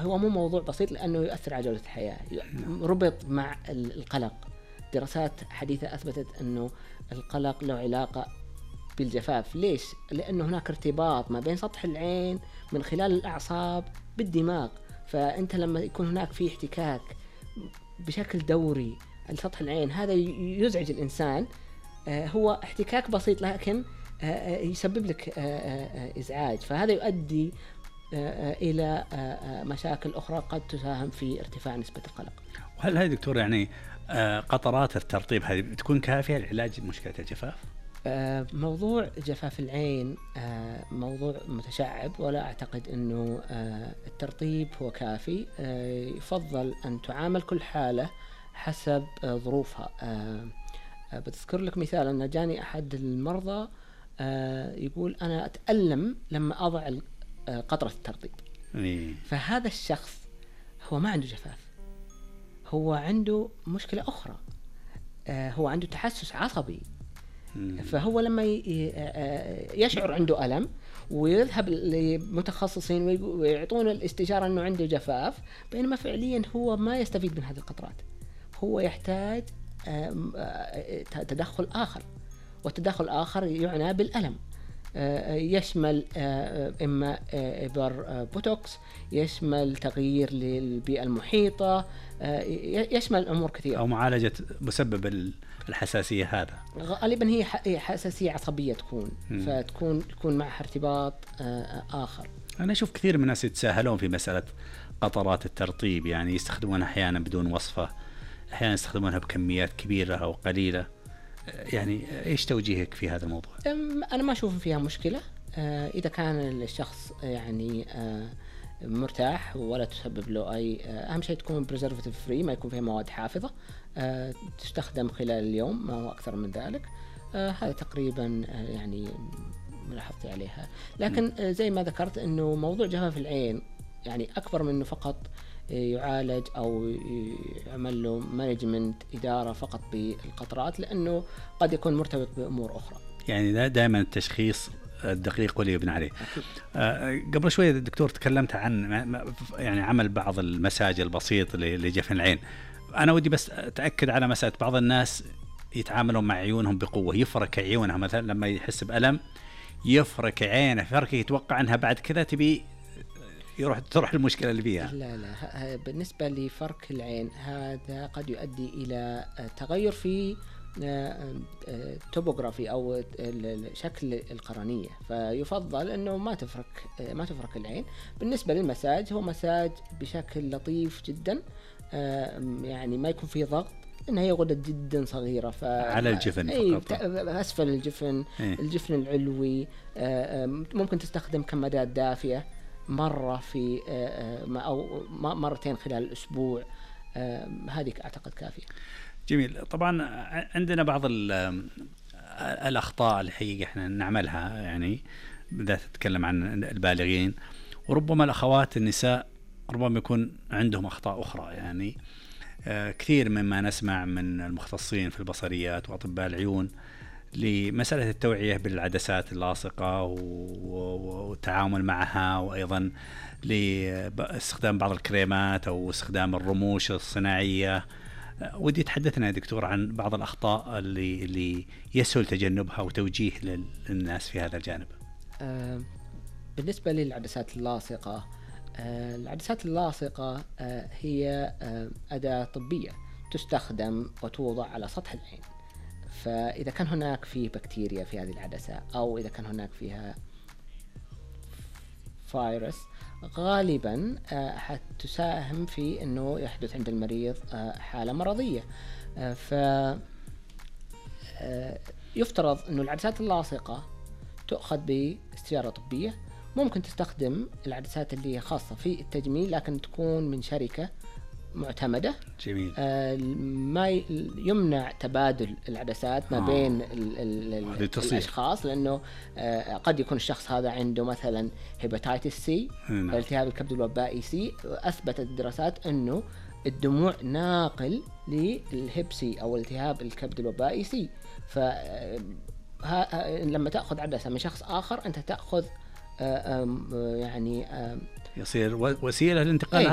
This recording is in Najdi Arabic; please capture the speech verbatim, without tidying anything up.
هو مو موضوع بسيط لأنه يؤثر على جودة الحياة، ربط مع القلق. دراسات حديثة أثبتت أنه القلق له علاقة بالجفاف. ليش؟ لأنه هناك ارتباط ما بين سطح العين من خلال الأعصاب بالدماغ، فأنت لما يكون هناك في احتكاك بشكل دوري على سطح العين هذا يزعج الإنسان. هو احتكاك بسيط لكن يسبب لك إزعاج، فهذا يؤدي إلى مشاكل أخرى قد تساهم في ارتفاع نسبة القلق. وهل هذه دكتور يعني قطرات الترطيب هذه بتكون كافية لعلاج مشكلة الجفاف؟ موضوع جفاف العين موضوع متشعب، ولا أعتقد أنه الترطيب هو كافي. يفضل أن تعامل كل حالة حسب ظروفها. بتذكر لك مثال أن جاني أحد المرضى يقول أنا أتألم لما أضع قطرة الترطيب. فهذا الشخص هو ما عنده جفاف، هو عنده مشكلة أخرى، هو عنده تحسس عصبي. فهو لما يشعر عنده ألم ويذهب لمتخصصين ويعطون الاستشارة أنه عنده جفاف، بينما فعليا هو ما يستفيد من هذه القطرات، هو يحتاج تدخل آخر، والتدخل آخر يعنى بالألم، يشمل إما إبر بوتوكس، يشمل تغيير للبيئة المحيطة، يشمل أمور كثيرة، أو معالجة مسبب الحساسية. هذا غالبا هي حساسية عصبية تكون م. فتكون تكون معها ارتباط آخر. أنا أشوف كثير من الناس يتساهلون في مسألة قطرات الترطيب، يعني يستخدمونها أحيانا بدون وصفة، أحيانا يستخدمونها بكميات كبيرة أو قليلة. يعني إيش توجيهك في هذا الموضوع؟ أنا ما أشوف فيها مشكلة إذا كان الشخص يعني مرتاح ولا تسبب له أي. أهم شيء تكون preservative free، ما يكون فيها مواد حافظة، تستخدم خلال اليوم، ما هو أكثر من ذلك. هذا تقريبا يعني ملاحظتي عليها. لكن زي ما ذكرت أنه موضوع جفاف العين يعني أكبر من أنه فقط يعالج أو يعمل له مانجمنت إدارة فقط بالقطرات، لأنه قد يكون مرتبط بأمور أخرى. يعني دائما التشخيص الدقيق واللي يبنى عليه. آه قبل شوية الدكتور تكلمت عن يعني عمل بعض المساج البسيط لجفن العين. أنا ودي بس أتأكد على مسألة بعض الناس يتعاملون مع عيونهم بقوة، يفرك عيونها مثلا لما يحس بألم، يفرك عينه فرك يتوقع أنها بعد كذا تبي يروح تروح المشكلة اللي فيها. لا لا، بالنسبة لفرك العين هذا قد يؤدي إلى تغير في توبوغرافي أو شكل القرنية، فيفضل أنه ما تفرك ما تفرك العين. بالنسبة للمساج هو مساج بشكل لطيف جدا، يعني ما يكون فيه ضغط، إنها هي غدد جدا صغيرة ف... على الجفن أي فقط، أسفل الجفن إيه؟ الجفن العلوي. ممكن تستخدم كمادات دافئة مرة في أو مرتين خلال الأسبوع، هذه أعتقد كافية. جميل. طبعا عندنا بعض الأخطاء الحقيقة احنا نعملها، يعني بدأت تتكلم عن البالغين، وربما الأخوات النساء ربما يكون عندهم أخطاء أخرى. يعني كثير مما نسمع من المختصين في البصريات وأطباء العيون لمسألة التوعية بالعدسات اللاصقة والتعامل معها، وأيضا لاستخدام بعض الكريمات أو استخدام الرموش الصناعية. ودي تحدثنا يا دكتور عن بعض الأخطاء اللي, اللي يسهل تجنبها وتوجيه للناس في هذا الجانب. آه بالنسبة للعدسات اللاصقة، آه العدسات اللاصقة آه هي آه أداة طبية تستخدم وتوضع على سطح العين. فإذا كان هناك فيه بكتيريا في هذه العدسة، أو إذا كان هناك فيها فيروس، غالبا حتساهم في أنه يحدث عند المريض حالة مرضية. فيفترض أنه العدسات اللاصقة تؤخذ باستشارة طبية. ممكن تستخدم العدسات اللي هي خاصة في التجميل لكن تكون من شركة معتمدة. جميل. آه ما يمنع تبادل العدسات ما آه. بين ال ال ال الأشخاص، لأنه آه قد يكون الشخص هذا عنده مثلا هيباتيتس سي، التهاب الكبد الوبائي سي. أثبتت الدراسات أنه الدموع ناقل للهيبسي أو التهاب الكبد الوبائي سي. فلما تأخذ عدسة من شخص آخر أنت تأخذ آه يعني آه يصير وسيلة لانتقال